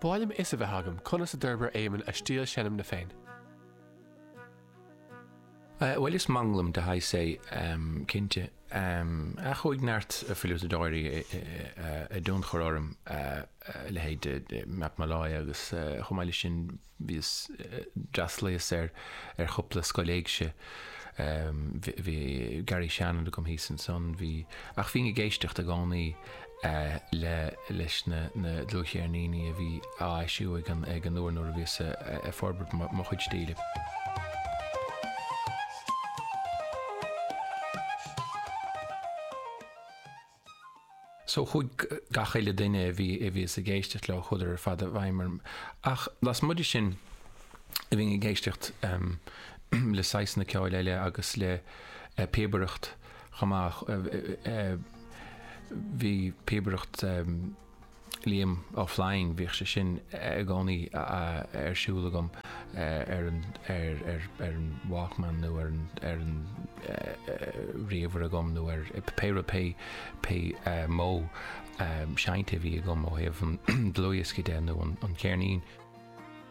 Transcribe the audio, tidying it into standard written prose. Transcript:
Ba mhaith liom fhios a bheith agam conas a d'fhorbair Éamonn a stíl seinmne féin. Bhuel, is manglam de shaghas é, cinnte. Ach chuaigh neart fliútadóirí i dtionchar orm, a leithéid de Matt Molloy agus chomh maith leis sin bhíos, d'fhreastalaíos ar ar chúpla scoil éigse. Bhí Gary Shannon agam thíos ansan, bhí, ach bhínn ag éisteacht i gcónaí le leis na na dlúthcheirníní a bhí á eisiú ag an ag an uair nuair a bhíos ag forbairt mo chuid stíle. So chuaigh gach uile duine a bhí a bhíos ag éisteacht leo, chuadar ar fad i bhfeidhm orm. Ach lasmuigh de sin, bhínn ag éisteacht le saghsanna ceoil eile agus le píobaireacht chomh maith. Bhí píobaireacht Liam Ó Floinn, bhíodh sé sin i gcónaí ar siúl agam ar an ar an Walkman nó ar an ar an ríomhaire agam nó ar pé rud pé pé modh seinnte a bhí agam ó thaobh an dlúthdhiosca de nó an cheirnín.